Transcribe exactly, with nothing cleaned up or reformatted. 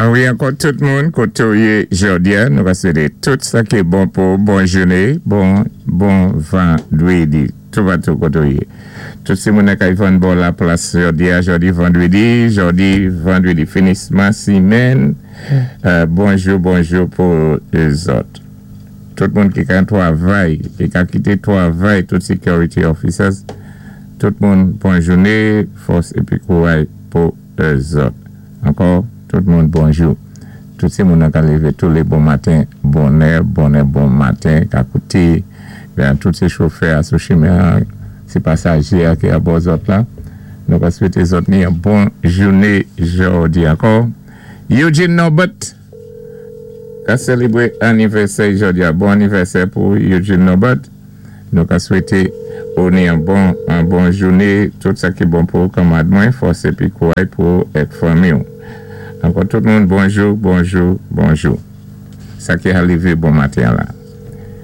An wi, ankò tout moun, koté ou yé jòdi-a, nou ka swété tout sa ki bon pou bon jouné, bon, bon vandwédi, toupatou koté ou yé. Tout sé moun kay vann bò la plas jòdi-a, jòdi vandwédi, jòdi vandwédi, finisman simenn, euh, bonjou, bonjou pou zòt. Tout moun ki ka twavay, ki ka kité twavay, tout security officers, tout moun bon jouné, fòs épi kouray pou zòt. Ankò, tout moun bonjou. Tout sé moun ka lévé tou lé bon maten, bonè, bonè, bon maten, ka kouté, ben, tout sé chofè sou chimen, sé pasajé ki abò zòt la. Nou ka swété zòt ni yon bon jouné jòdi ankò. Eugene Norbert, ka sélébwé anivèsè jòdi-a. Bon anivèsè pou Eugene Norbert. Nou ka swété ou ni yon bon, yon bon jouné, tout sa ki bon pou kanmad mwen, fòs épi kouray pou èk fanmi ou. Ankò tout moun, bonjou, bonjou, bonjou. Sa ki arivé bon maten la.